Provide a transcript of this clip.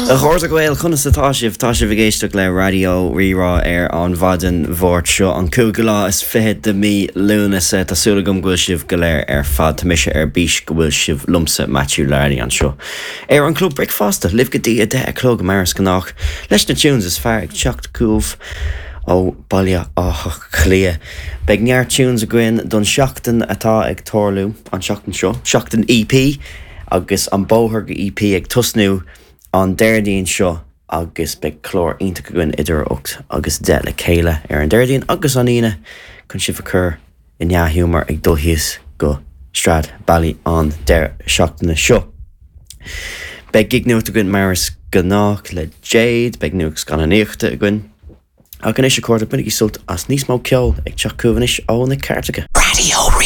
A chairde Gael, conas atá sibh? Tá sibh ag éisteacht le Raidió Rí-Rá ar an mhaidin Mháirt seo, an cúigiú lá is fiche de mhí Lúnasa. Tá súil agam go bhfuil sibh go léir ar fad. Tá mise ar bís go bhfuil sibh liomsa, Matthew Larney, anseo ar an Club Bricfeasta, libh go dtí 10 a chlog mar is gnách, leis na tunes is fearr ag teacht chugaibh ó Bhaile Átha Cliath. Beidh neart tunes againn don seachtain atá ag tarlú an seachtain seo, seachtain EP agus an bóthar go EP ag tosnú an Déardaoin seo agus beidh clár iontach againn idir 8 agus 10 le chéile ar an Déardaoin agus an Aoine chun sibh a chur i ndea-ghiúmar ag dul thíos go Stradbally an deireadh seachtaine seo. Beidh gig nuachta againn mar is gnách le Jade, beidh nuacht scannánaíochta againn. Ach anois a chairde, bainigí sult as níos mó ceoil ag teacht chugaibh anois ó na cairteacha. Raidió Rí.